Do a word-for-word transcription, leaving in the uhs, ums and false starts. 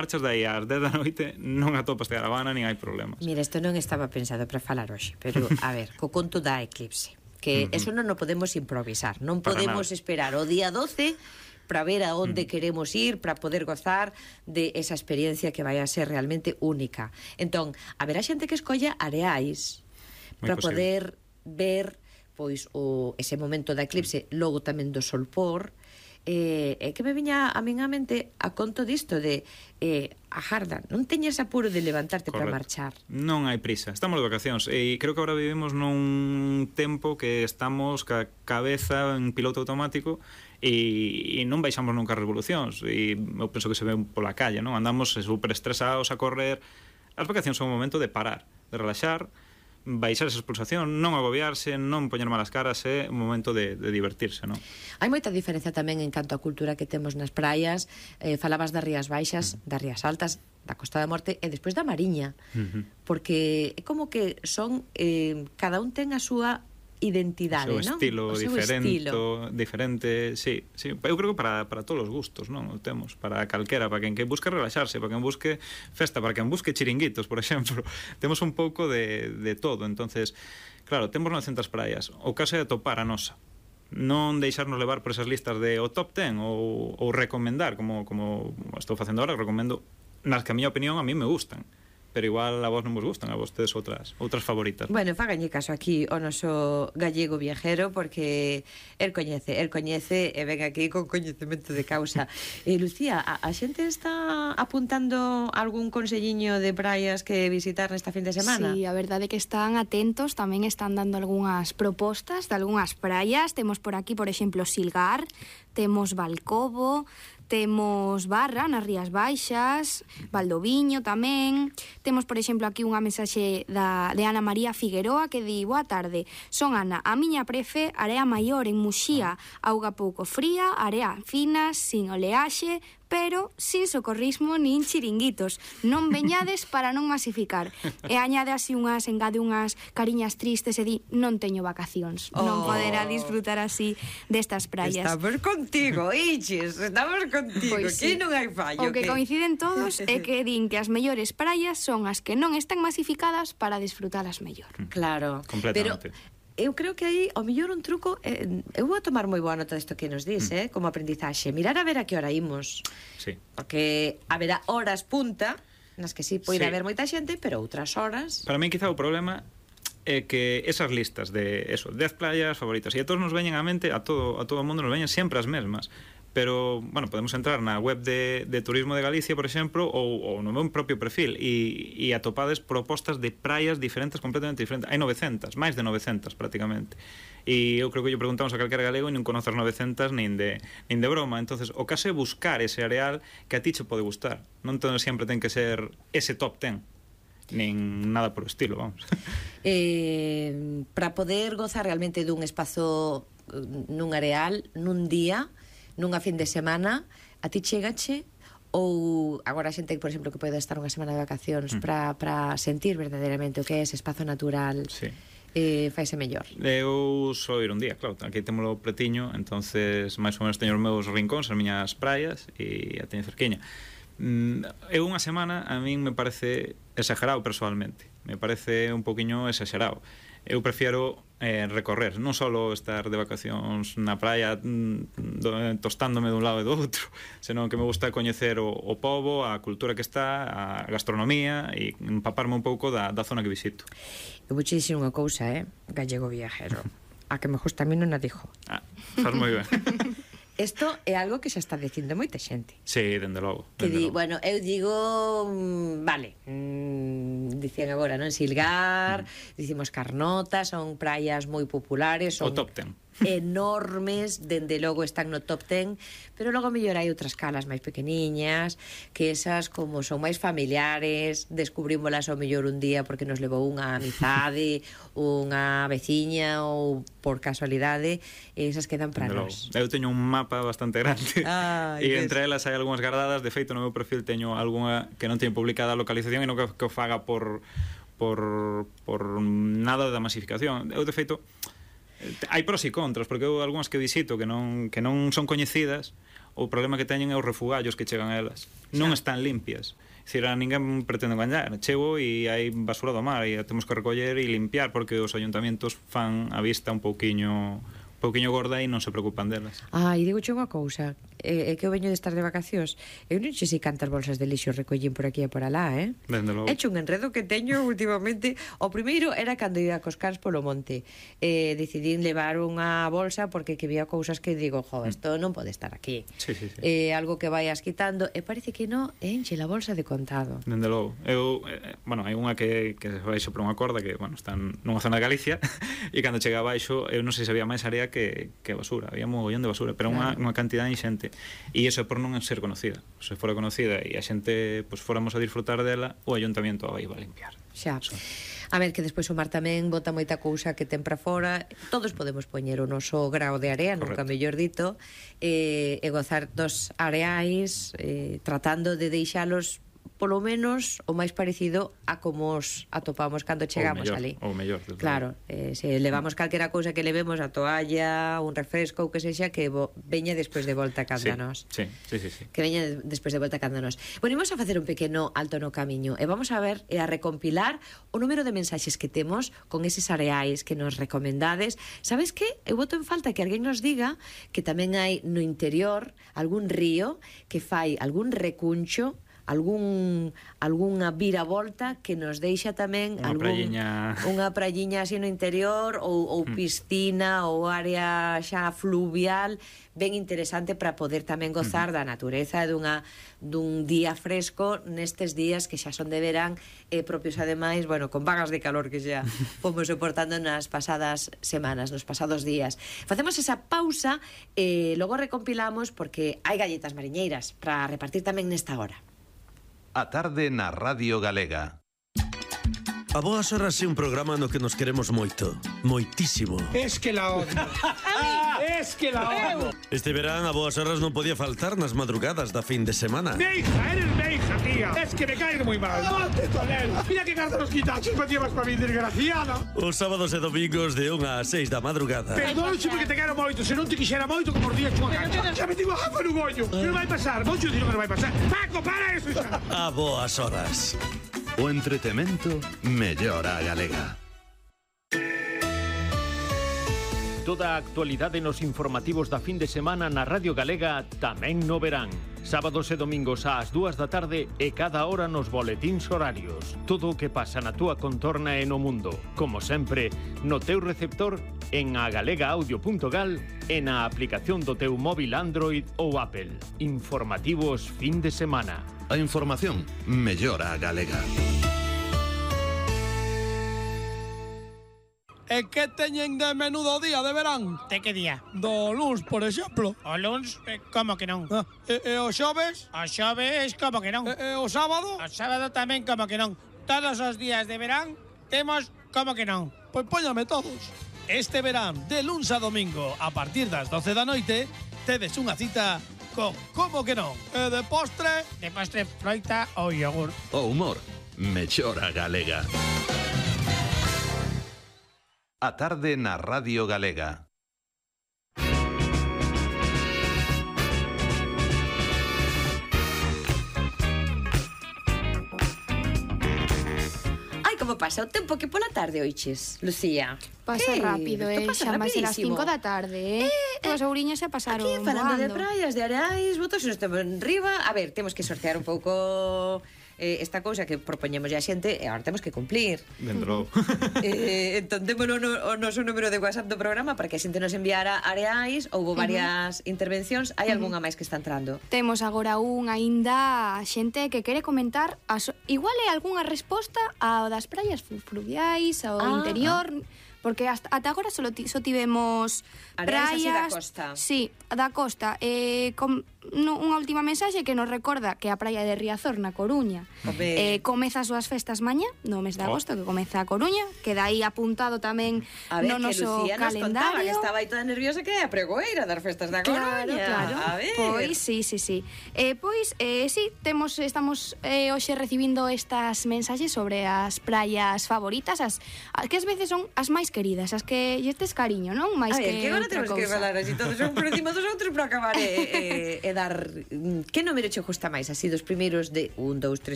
marchas dai ás dez da noite non atopas caravana nin hai problemas. Mira, isto non estaba pensado para falar hoxe, pero a ver, co conto da eclipse, que uh-huh. eso non o podemos improvisar, non para podemos nada. Esperar o día doce para ver a onde uh-huh. queremos ir, para poder gozar de esa experiencia que vai a ser realmente única. Entón, haberá xente que escolla areais para poder ver pois o ese momento da eclipse, logo tamén do solpor. Eh, é que me viña a min a mente a conto disto de eh, agarda, non teñas apuro de levantarte para marchar. Non hai prisa, estamos de vacacións e creo que agora vivimos nun tempo que estamos ca cabeza en piloto automático e, e non baixamos nunca as revolucións e eu penso que se ve pola calle, non? Andamos super estresados a correr. As vacacións son un momento de parar, de relaxar, baixar esa expulsación, non agobiarse, non poñer malas caras, é un momento de, de divertirse, non? Hai moita diferencia tamén en canto a cultura que temos nas praias. Eh, falabas das Rías Baixas, uh-huh. das Rías Altas, da Costa da Morte e despois da Mariña, uh-huh. porque é como que son eh, cada un ten a súa identidade, non? O seu estilo o seu diferente, estilo. diferente, sí, sí, eu creo que para, para todos os gustos, non? O temos, para calquera, para quen que busque relaxarse, para quen busque festa, para quen busque chiringuitos, por exemplo. Temos un pouco de, de todo, entonces, claro, temos novecentas praias, o caso é atopar a nosa. Non deixarnos levar por esas listas de o top ten ou, ou recomendar, como, como estou facendo agora, recomendo nas que a miña opinión a mí me gustan, pero igual a vos non vos gustan, a vostedes outras outras favoritas. Bueno, fáganlle caso aquí o noso gallego viajero, porque el coñece, el coñece e ven aquí con coñecemento de causa. E Lucía, a, a xente está apuntando algún conselliño de praias que visitar nesta fin de semana? Sí, a verdade é que están atentos, tamén están dando algunhas propostas de algunhas praias. Temos por aquí, por exemplo, Silgar, temos Valcobo, temos Barra nas Rías Baixas, Valdoviño tamén. Temos, por exemplo, aquí unha mensaxe da, de Ana María Figueroa que di: boa tarde, son Ana, a miña prefe, area maior en Muxía, auga pouco fría, area fina, sin oleaxe, pero sin socorrismo nin chiringuitos. Non veñades para non masificar. E añade así unhas, engade unhas cariñas tristes e di: non teño vacacións. Oh. Non poderá disfrutar así destas praias. Estamos contigo, Ichis, estamos contigo, pues aquí sí. Non hai fallo. O que, que coinciden todos é que din que as mellores praias son as que non están masificadas para disfrutalas mellor. Claro. Completamente. Pero eu creo que aí, ao mellor un truco, eh, eu vou a tomar moi boa nota desto que nos dis, mm. eh, como aprendizaxe, mirar a ver a que hora imos. Sí. Porque haberá horas punta nas que sí poida sí. haber moita xente, pero outras horas... Para mí quizá o problema é que esas listas de eso, dez playas favoritas, e a todos nos veñen á mente, a todo a todo o mundo nos veñen sempre as mesmas. Pero, bueno, podemos entrar na web de, de Turismo de Galicia, por exemplo, ou, ou no meu propio perfil e, e atopades propostas de praias diferentes, completamente diferentes. Hai novecentas, máis de novecentas prácticamente. E eu creo que lle preguntamos a calquera galego e non conoces novecentas nin de, nin de broma. Entonces, o caso é buscar ese areal que a ti che pode gustar. Non todo sempre ten que ser ese top ten, nin nada por o estilo, vamos. Eh, para poder gozar realmente dun espazo nun areal, nun día, nunha fin de semana, a ti chegache ou agora a xente, por exemplo, que pode estar unha semana de vacacións mm. para para sentir verdadeiramente o que é ese espazo natural, sí. eh, faise mellor? Eu só ir un día, claro, aquí témolo pretiño, entonces máis ou menos teño os meus rincóns, as miñas praias e a teño cerquiña. Mm, eu unha semana a min me parece exagerado personalmente, me parece un poquinho exagerado. Eu prefiero eh, recorrer, non só estar de vacacións na praia mm, do, tostándome dun lado e do outro, senón que me gusta coñecer o, o pobo, a cultura que está, a gastronomía e empaparme un pouco da, da zona que visito. Eu vou che dicir unha cousa, eh, gallego viajero, a que me gusta a mí non a dixo. Ah, faz moi ben. Isto é algo que xa está dicindo moita xente. Sí, dende logo. Que dende di, logo. bueno, eu digo, mmm, vale, mmm, dicían agora, non? Silgar, mm. dicimos Carnota, son praias moi populares, son o top ten. Enormes, dende logo están no top ten, pero logo mellor hai outras calas máis pequeniñas, que esas como son máis familiares, descubrímolas ao mellor un día porque nos levou unha amizade, unha veciña ou por casualidade, esas quedan para nós. Eu teño un mapa bastante grande ah, e entre elas hai algunhas guardadas. De feito, no meu perfil teño algunha que non teño publicada a localización e non que, que o faga por, por, por nada da masificación. Eu, de feito, hai pros e contras, porque eu algunhas que visito que non, que non son coñecidas, o problema que teñen é os refugallos que chegan a elas. Non están limpias. É dicir, a ninguén pretende engañar. Chego e hai basura do mar e a temos que recoller e limpiar porque os ayuntamientos fan a vista un pouquiño un pouquiño gorda e non se preocupan delas. Ah, e digo che unha cousa, é, é que eu veño de estar de vacacións, eu non sei se cantas bolsas de lixo recollín por aquí e por alá, eh? Dende logo. He hecho un enredo que teño últimamente. O primeiro era cando ia cos cans polo monte. Eh, decidín levar unha bolsa porque que vía cousas que digo, jo, isto non pode estar aquí. Sí, sí, sí. Eh, algo que vayas quitando, e parece que non, enche la bolsa de contado. Dende logo. Eu, eh, bueno, hai unha que, que se baixo por unha corda que, bueno, está nunha zona de Galicia e cando chega abaixo, eu non sei se había máis área que, que basura, había mogollón de basura, pero claro, unha, unha cantidad inxente. E iso é por non ser conocida. Se fora conocida e a xente pues, fóramos a disfrutar dela, o ayuntamiento a iba a limpiar. Xa. Eso. A ver, que despois o mar tamén bota moita cousa que ten para fora. Todos podemos poñer o noso grao de area, nunca mellor dito, eh, e gozar dos areais, eh, tratando de deixalos polo menos o máis parecido a como os atopamos cando chegamos mellor, ali. Ou mellor, claro, eh, se levamos calquera cousa que levemos, a toalla, un refresco ou que sexa, que vo, veña despois de volta cando sí, nós. Sí, sí, sí, sí. Que veña de, despois de volta cando nós. Bueno, imos a facer un pequeno alto no camiño e vamos a ver e a recompilar o número de mensaxes que temos con eses areais que nos recomendades. Sabes que? Eu boto en falta que alguén nos diga que tamén hai no interior algún río que fai algún recuncho, algún algunha viravolta que nos deixa tamén unha algún, prayiña unha prayiña así no interior ou, ou piscina ou área xa fluvial ben interesante para poder tamén gozar da natureza e dunha, dun día fresco nestes días que xa son de verán e propios ademais, bueno, con vagas de calor que xa fomos soportando nas pasadas semanas, nos pasados días. Facemos esa pausa e logo recompilamos porque hai galletas mariñeiras para repartir tamén nesta hora. A tarde na Radio Galega. A Boas Horas é un programa no que nos queremos moito, moitísimo. Es que la odio. Es que la odio. Este verán a Boas Horas non podía faltar nas madrugadas da fin de semana. Meija, eres meija, tía. Es que me caes muy mal. No te tolero. Mira que carta los quitachos me llevas para mi desgraciada. Os sábados e domingos de unha a seis da madrugada. Perdónche porque te quero moito. Se non te quixera moito como os días chunha cancha. Xa me digo jafa no gollo. Que non vai pasar. Mocho dino que non vai pasar. Paco, para eso, xa. A Boas Horas. O entretemento mellora a galega. Toda a actualidade nos informativos da fin de semana na Radio Galega tamén no verán. Sábados e domingos ás dúas da tarde e cada hora nos boletíns horarios. Todo o que pasa na túa contorna e no mundo. Como sempre, no teu receptor, en agalegaaudio punto gal e na aplicación do teu móvil Android ou Apple. Informativos fin de semana. A información mellora a galega. E que teñen de menudo día de verán? De que día? Do luns, por exemplo. O luns, eh, como que non? Ah, e, e o xoves? O xoves, como que non? E, e o sábado? O sábado tamén, como que non? Todos os días de verán temos como que non? Pois póñame todos. Este verán, de luns a domingo, a partir das doce da noite, tedes unha cita con como que non? E de postre? De postre, froita ou yogur. O humor mellora a galega. A tarde na Radio Galega. Ai, como pasa o tempo que pola tarde oiches, Lucía. Pasa Eh, rápido, eh, pasa xa máis de las rapidísimo. cinco da tarde, eh. eh As ouriñas xa pasaron Aquí falando de voando. praias, de areais, botos nos temos enriba. A ver, temos que sortear un pouco eh, esta cousa que propoñemos a xente e agora temos que cumplir. Dentro. eh, entón, témolo no, o noso número de WhatsApp do programa para que a xente nos enviara areais. Houve varias uh -huh. intervencións. Hai algunha máis que está entrando? Temos agora un aínda xente que quere comentar as, igual é algunha resposta ao das praias fluviais, ao Ah, interior, porque hasta, ata agora só, ti, só tivemos Areais así da praias... costa. Sí, da costa. Eh, com, no, unha última mensaxe que nos recorda que a praia de Riazor, na Coruña, eh, comeza as súas festas mañá, no mes de agosto, que comeza a Coruña, queda aí apuntado tamén A ver, no que noso Lucía nos contaba que calendario. estaba aí toda nerviosa que é a pregoeira das festas da Claro, Coruña. claro. A ver. Pois sí, sí, sí. Eh, pois eh, sí, temos estamos eh, hoxe recibindo estas mensaxes sobre as praias favoritas, as, as que ás veces son as máis queridas, as que lle tes cariño, non? Máis A ver, que que agora outra temos que cousa. falar así todos un por encima dos outros para acabar e, e, e quedar... Que número che gusta máis? Así dos primeiros de un, dous, tres,